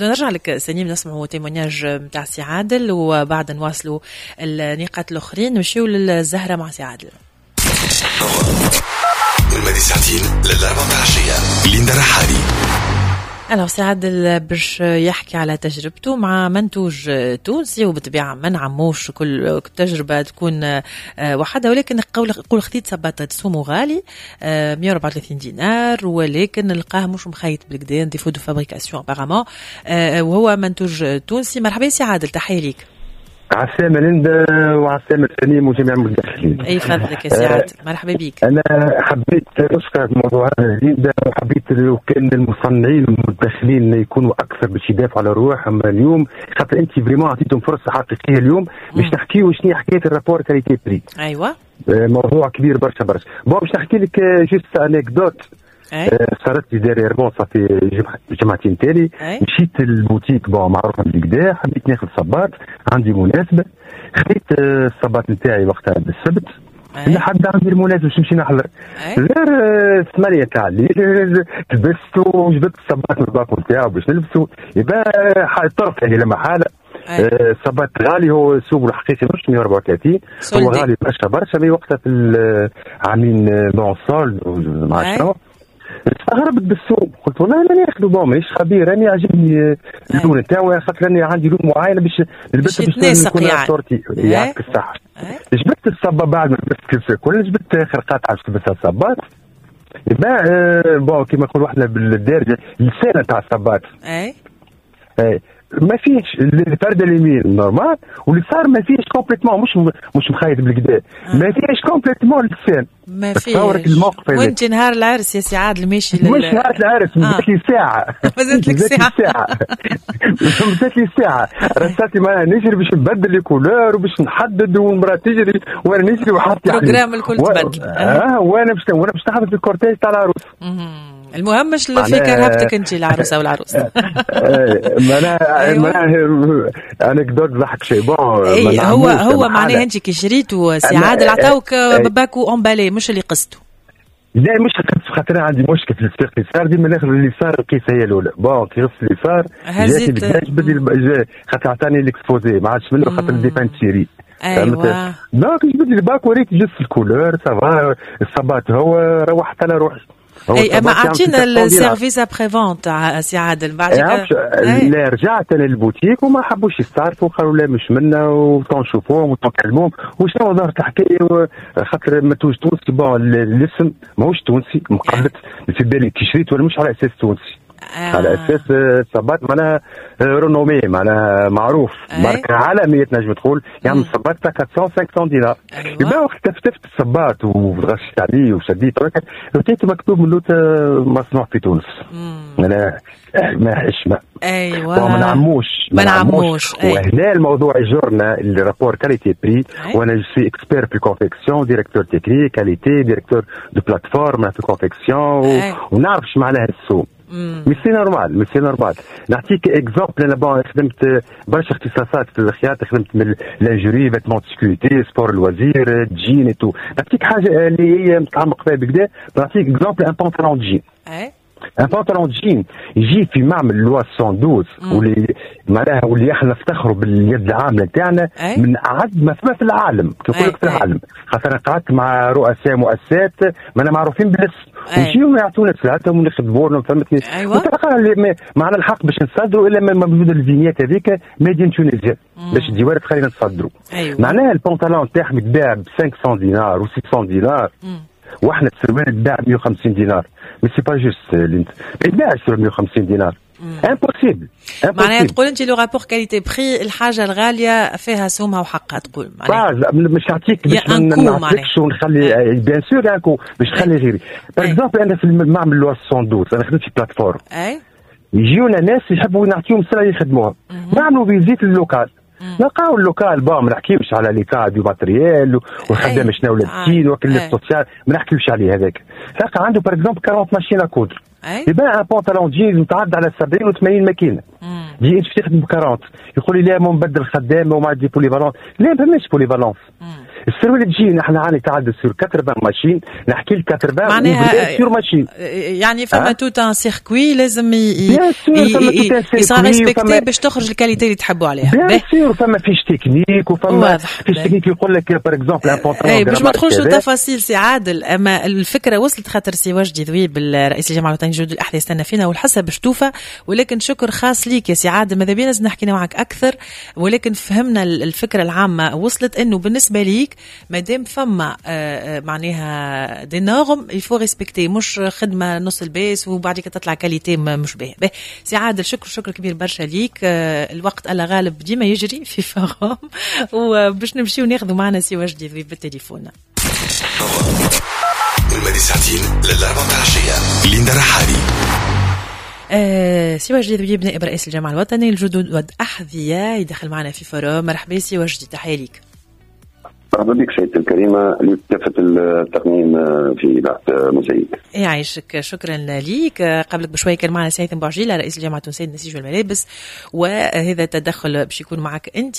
نرجع لك سليم، نسمعوا témoignage نتاع سي عادل وبعد نواصلوا النقاط الاخرين، نمشيو للزهره مع سي عادل. المادي ساعتين للأربعة العشية، ليندا رحالي. alors سي عادل باش يحكي على تجربته مع منتوج تونسي، وبالطبيعة ما نعموش كل تجربة تكون وحدها، ولكن قول خذيت صباط سومو غالي 134 دينار، ولكن لقاه مش مخيط بالكدا، défaut de fabrication apparemment، وهو منتوج تونسي. مرحبا سي عادل، تحية ليك. عسلامة ليندا وعسلامة سليم وجميع المدخلين. اي فضلك يا سي عادل، مرحبا بك. انا حبيت نشكر الموضوع هذا ليندا، وحبيت لو كان المصنعين والمدخلين يكونوا اكثر باش يدافعوا على رواحهم اليوم، خاطر انت vraiment عطيتهم فرصة حقيقية اليوم باش نحكيو شنو حكاية ال rapport qualité prix. ايوه، موضوع كبير برشا برشا. bon باش نحكي لك juste anecdote صارت لي dernièrement، صافي جمعتين تالي مشيت لل boutique bon معروفة بالكدا، حبيت ناخذ صباط، عندي مناسبة، خذيت الصباط نتاعي وقتها بالسبت لحد عندي المناسبة باش نمشي نحضر. غير 8 تاع الليل لبست وجبت الصباط من الباكو نتاعو باش نلبسو، يبقى الطرف يعني لما حاله الصباط غالي، هو السوق الحقيقي مش 134، هو غالي برشا برشا، mais وقتها في عاملين bon solde مع شنو. استغربت بالسوق، قلت والله انا ناخذ bon مانيش خبير، انا عجبني اللون نتاعو خاطر انا عندي لون معين باش نلبسه باش نكون sortie. يعطيك الصحة. جبت الصباط بعد ما لبست الكل، جبت اخر قطعه باش نلبسها الصباط، يبقى bon كيما نقولوا احنا بالدارجة اللسانه تاع الصباط. اي ما فيش الفرد اليمين normal، واليسار ما فيش complètement، مش مخيط بالكدا، ما فيش complètement اللسان، ما فيش. وانت نهار العرس يا سي عادل ماشي مش نهار العرس، مازالت لي ساعة، مازالت لك ساعة، مازالت لي ساعة، رسالتي معناها نجري باش نبدل les couleurs وباش نحدد، والمراة تجري وانا نجري وحاطط ال programme الكل تبدل. وانا باش نحضر في ال cortège تاع العروس. المهم مش اللي في كرهبتك انت العروسة والعروس. معناها anecdote ضحك شيء bon. هو معناها انت كي شريتو سي عادل عطاوك paquet emballé مش اللي قصته. لا مش قصته، خاطر عندي مشكل في الساق اليسار، ديما ناخذ اليسار القيسه هي الاولى. bon كي غسل اليسار جاتني خاطر عطاني l'exposé ما عادش منه، خاطر des fins de série. ايوا donc جبت لي paquet وريت juste ال couleur ça va الصباط هو، روحت على روحي. اي اما اعطينا ال service après-vente سي عادل بعد. لا رجعت انا للبوتيك وما حبوش يستعرفوا، قالوا لا مش منا وتنشوفوهم وتنكلموهم وشنو ظهرت الحكاية، خاطر منتوج تونسي bon الاسم ماهوش تونسي مقلد في بالي كي شريت ولا مش على اساس تونسي. على اساس صباط معناها renommé معناها معروف، ماركة عالمية تنجم تقول، يعني الصباط تاع 400 500 دينار. يبقى وقت تفتفت الصباط وغشيت عليه وشديت لقيت مكتوب من لوت مصنوع في تونس. انا ما حشمه. ايوه ما نعموش. وهنا الموضوع يجرنا ال rapport qualité prix، وانا je suis expert في confection، directeur technique qualité، directeur de plateforme في confection، ونعرف اش معناها السوق. mais c'est normal، mais c'est normal. نعطيك exemple، انا bon خدمت برشا اختصاصات في الخياطة، خدمت من lingerie، vêtements sécurité، sport loisir، jean et tout. نعطيك حاجة اللي هي متعمق فيها بكدا، نعطيك exemple un pantalon jean. un pantalon jean يجي في معمل Loi 112 واللي معناها واللي احنا نفتخروا باليد العاملة تاعنا من اعز ما فما في العالم، كي نقول لك في العالم، خاطر قعدت مع رؤساء مؤسسات مانا معروفين بالاسم ويجيو يعطونا سلعتهم ونخدموا لهم، فهمتني؟ وتلقى معنا الحق باش نصدروا الا ما موجود ال vignette هذيك made in Tunisia باش الديوانه تخلينا نصدروا. معناها البنطلون تاعهم يتباع ب 500 دينار و 600 دينار، واحنا السروال يتباع ب 150 دينار. mais c'est pas juste، ما يتباعش 150 دينار، impossible. معناها تقول انت le rapport qualité prix، الحاجة الغالية فيها سومها وحقها، تقول معناها مش نعطيك باش ما نعطيكش ونخلي bien sûr un coût باش نخلي غيري. par exemple انا في المعمل Loi 112 انا خدمت في plateforme، يجيونا ناس يحبوا نعطيهم سلعه يخدموها، نعملوا visite ال local، نلقاو ال local bon ما نحكيوش على l'état du matériel والخدام شنو لابسين وكل ال social، ما نحكيوش عليه هذاك. تلقى عنده par exemple 40 machines à coudre، يبيع un pantalon jeans متعدى على 70 و80 ماكينة. دي انت تخدم ب 40، يقول لي لا ما نبدل خدامه وما عندي polyvalence. لا ما فماش polyvalence. السروال تجي احنا عندنا تعدد sur 80 machines، نحكي لك 80 معناها sur machines، يعني فما tout un circuit لازم يصير respecté باش تخرج ال qualité اللي تحبوا عليها. bien sûr فما fiche technique، وفما fiche technique يقول لك par exemple un pantalon. باش ما تدخلش التفاصيل سي عادل، اما الفكرة وصلت، خاطر سي وجدي ذويب رئيس الجامعة الوطنية لجلود الاحذية يستنى فينا والحصه باش توفى، ولكن شكر خاص ليك يا سي عادل، ماذا بينا نحكي معك اكثر، ولكن فهمنا الفكرة العامة وصلت، انه بالنسبة ليك مادام فما معناها des normes il faut respecter، مش خدمة نص الباس وبعد كده تطلع qualité مش باهيه. سي عادل شكر كبير برشا ليك، الوقت على غالب ديما يجري في forum، وباش نمشيو ناخذوا معنا سي وجدي بالتليفون. المدي ساعتين للأربعة العشية، ليندا رحالي. سي وجدي ذويب نائب رئيس الجامعة الوطنية للجلود والأحذية يدخل معنا في forum. مرحبا سي وجدي، تحية ليك. مرحبا بك سيدتي الكريمة لكافة التقنيين في إذاعة موزايك. يعيشك، شكرا ليك. قبلك بشوي كان معنا سي هيثم بوعجيلة رئيس الجامعة التونسية للنسيج والملابس، وهذا التدخل باش يكون معك أنت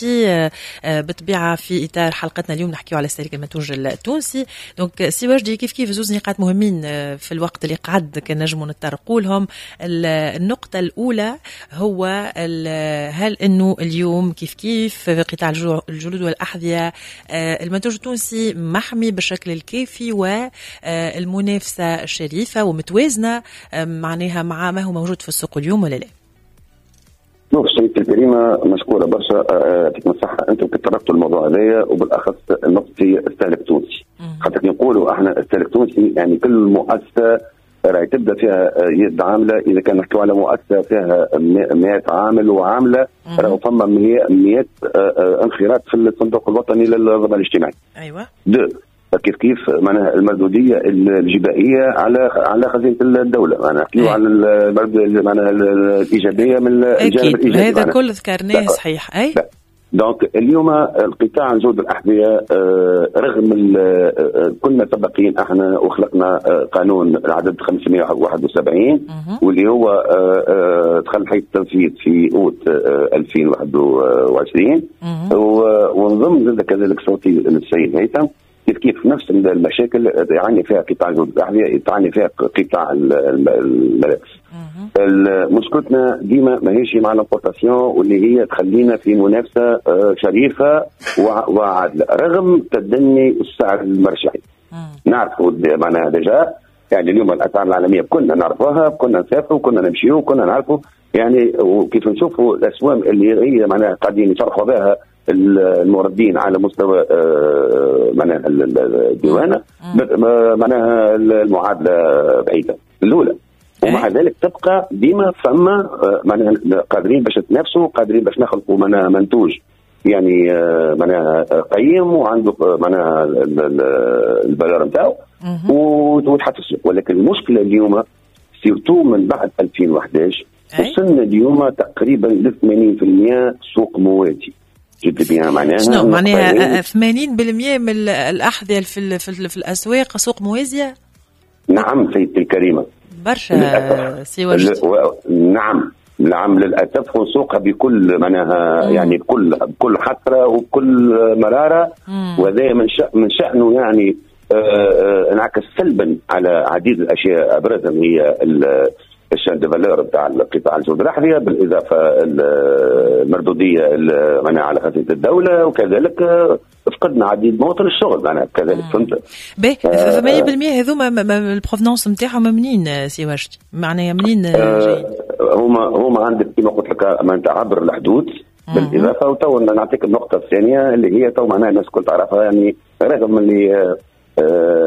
بالطبيعة في إطار حلقتنا اليوم نحكيو على استهلاك المنتوج التونسي. donc سي وجدي كيف كيف زوز نقاط مهمين في الوقت اللي قعد كان نجموا نتطرقوا لهم. النقطة الأولى هو هل أنه اليوم كيف كيف في قطاع الجلود والأحذية المنتوج التونسي محمي بالشكل الكافي والمنافسة شريفة ومتوازنة معناها مع ما هو موجود في السوق اليوم ولا لا؟ شوف سيدتي الكريمة، مشكورة برشا، يعطيكم الصحة، أنتم تطرقتوا الموضوع هذايا وبالأخص النقطة هي استهلاك تونسي. خاطر نقولوا احنا استهلاك تونسي يعني كل مؤسسة راهي تبدا فيها يد عامله، اذا كان نحكيو على مؤسسة فيها 100 عامل وعامله راهو فما 100 انخراط في الصندوق الوطني للضمان الاجتماعي. ايوه. deux كيف كيف معناها المردوديه الجبائيه على خزينة الدولة، معناها نحكيو على معناها الايجابية من الجانب الايجابي. هذا كل ذكرناه صحيح. اي. donc اليوم القطاع جود الأحذية رغم كنا سباقين احنا وخلقنا قانون العدد 571 واللي هو دخل حيز التنفيذ في اوت 2021، ونضم زاد كذلك صوتي للسيد هيثم. كيف كيف نفس المشاكل يعاني فيها قطاع جود الأحذية، يعاني فيها قطاع الملابس. مشكلتنا ديما ماهيش مع l'importation واللي هي تخلينا في منافسه شريفه وعادله رغم تدني السعر المرجعي. نعرفوا معناها déjà يعني اليوم الاسعار العالمية كنا نعرفوها، كنا نسافروا، كنا نمشيو، كنا نعرفوا يعني، وكيف نشوفوا الاسوام اللي هي معناها قاعدين يشرحوا بها الموردين على مستوى معناها الديوانه، معناها المعادلة بعيدة الاولى. ومع ذلك تبقى ديما فما معناها قادرين باش نتنافسوا، قادرين باش نخلقوا معناها منتوج يعني معناها قيم وعنده معناها ال valeur نتاعو وتحط في السوق. ولكن المشكلة اليوم surtout من بعد 2011 وصلنا اليوم تقريبا ل 80% سوق موازي. جد بها معناها شنو معناها 80% من الاحذية في الاسواق سوق موازية؟ نعم سيدتي الكريمة، برشا سي وجدي. نعم نعم للاسف، وسوقها بكل معناها يعني بكل حسرة وبكل مرارة، وهذا من شأنه يعني انعكس سلبا على عديد الاشياء، ابرزها هي ال chaîne de valeur نتاع القطاع الجلود الاحذية، بالاضافة المردوديه معناها على خزينة الدولة، وكذلك فقدنا عديد مواطن الشغل معناها كذلك، فهمت؟ باهي، 80% هذوما ال provenance نتاعهم منين سي وجدي؟ معناها منين جايين؟ هما عندك كما قلت لك معناتها عبر الحدود. بالاضافة وتو نعطيك النقطة الثانية اللي هي تو معناها الناس الكل تعرفها، يعني رغم اللي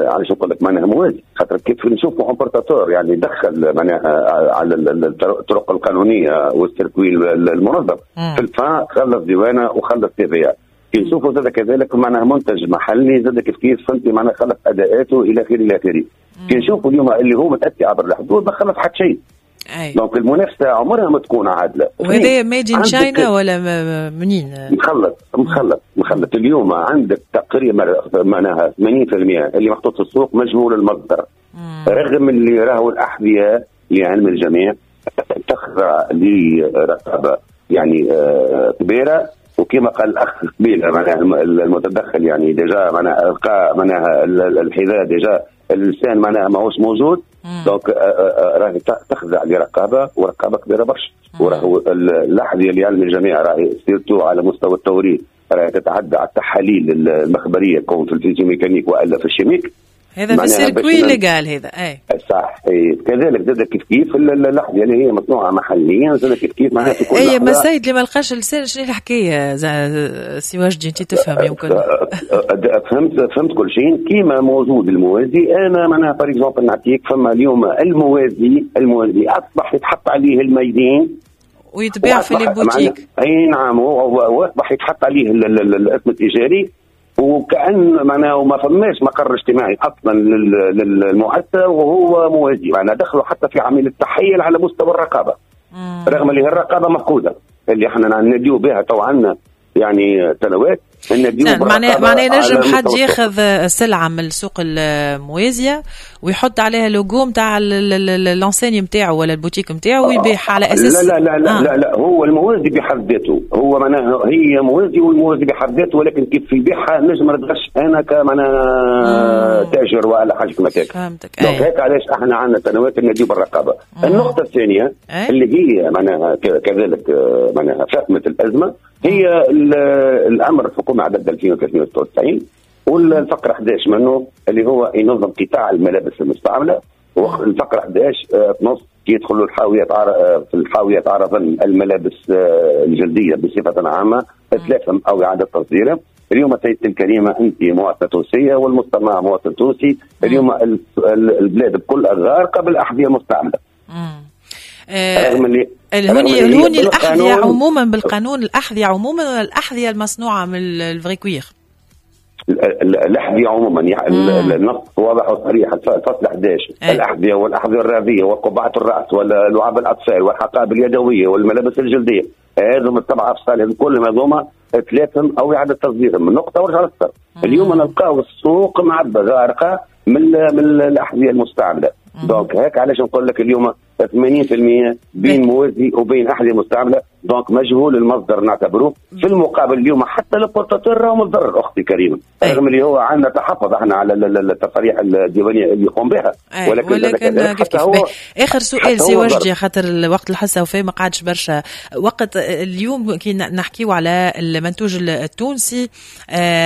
علاش نقول لك معناها موازي، خاطر كيف نشوفوا importateur يعني دخل معناها على الطرق القانونية وال circuit المنظم في ال fin خلص ديوانه وخلص TVA. كي نشوفوا زاد كذلك معناها منتج محلي زاد كيف كيف، فهمتي، معناها خلص اداءاته الى اخره الى اخره. كي نشوفوا اليوم اللي هو متاتي عبر الحدود ما خلص حتى شيء. donc المنافسة عمرها ما تكون عادلة. وهذا made in China ولا منين؟ مخلط مخلط مخلط. اليوم عندك تقريبا معناها 80% اللي محطوط في السوق مجهول المصدر. رغم اللي راهو الاحذية لعلم الجميع تخضع لرقابه يعني كبيرة، وكما قال الاخ قبيلة معناها المتدخل يعني déjà معناها القى معناها الحذاء déjà اللسان معناها ماهوش موجود. donc راهي تخضع لرقابه ورقابه كبيرة برشا. وراهو الاحذية اللي يعلم الجميع راهي surtout على مستوى التوريد راهي تتعدى على التحاليل المخبرية كون في ال physiomécanique والا في ال chimique. هذا في ال circuit légal هذا. اي صح. كذلك زاد كيف كيف الاحذية اللي هي مصنوعة محليا زاد كيف كيف معناها في كل اي. ما السيد اللي ما لقاش لسان شنو الحكاية سي وجدي، انت تفهم يمكن. فهمت كل شيء كيما موجود الموازي. انا معناها par exemple نعطيك فما اليوم الموازي اصبح يتحط عليه ال made in ويتباع في les boutiques. اي نعم، واصبح يتحط عليه الاسم التجاري، وكأن معناه ما فماش مقر اجتماعي اصلا للمؤسسه وهو موازي، معناه دخلوا حتى في عملية التحيل على مستوى الرقابة. رغم اللي هي الرقابة مفقودة اللي احنا نديو بها تو عندنا يعني سنوات. معناه نجم حد ياخذ سلعه من السوق الموازيه ويحط عليها لوجو نتاع l'enseigne نتاعو ولا البوتيك نتاعو ويبيعها على اساس لا لا لا لا, لا لا هو الموازي بحد ذاته هو معناها هي موازي والموازي بحد ذاته، ولكن كيف يبيعها نجم ما نتغش انا كمعناها تاجر ولا حاجة كما هيك. فهمتك. donc هيك علاش احنا عندنا سنوات نديو بالرقابه. النقطة الثانية اللي هي معناها كذلك معناها فهمت الازمة هي الامر الحكومة عدد 2396 والفقرة 11 منه اللي هو ينظم قطاع الملابس المستعملة، والفقرة 11 نص يدخلوا الحاويات في الحاويات عرضا الملابس الجلدية بصفة عامة اتلافهم او اعاده تصديرها. اليوم سيدتي الكريمة انت مواطنه تونسية والمستمع مواطن تونسي، اليوم البلاد بكل غارقة بالاحذيه المستعملة. الهوني الأحذية عموما بالقانون، الأحذية عموما ولا الأحذية المصنوعة من ال vrai cuir؟ الأحذية عموما، يعني النص واضح وصريح الفصل 11. الأحذية والأحذية الرياضية وقبعة الرأس ولعاب الأطفال والحقائب اليدوية والملابس الجلدية، هذم السبعة أفصال كلهم هذوما ثلاثهم أو إعادة تصديرهم من نقطة ورجع للسطر. اليوم نلقاو السوق معبى غارقة من الأحذية المستعملة. donc هيك علاش نقول لك اليوم 80% بين موازي وبين احذية مستعملة، donc مجهول المصدر نعتبروه. في المقابل اليوم حتى ال importateur راهو متضرر اختي الكريمة، رغم اللي هو عندنا تحفظ احنا على التصاريح الديوانيه اللي يقوم بها، ولكن حتى هو. اخر سؤال سي وجدي خاطر الوقت الحصة وفي ما قعدش برشا وقت. اليوم كي نحكيو على المنتوج التونسي،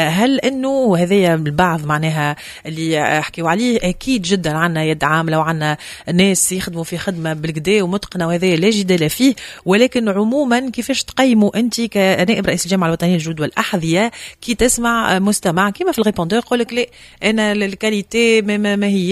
هل انه هذايا البعض معناها اللي حكيو عليه اكيد جدا عندنا يد عامله وعندنا ناس يخدموا في خدمة بالكدا ومتقنه وهذا لا جدال فيه، ولكن عموما كيفاش تقيموا انت كنائب رئيس الجامعة الوطنية للجلود والاحذيه كي تسمع مستمع كيما في ال répondeur يقول لك لا انا ال qualité ما هي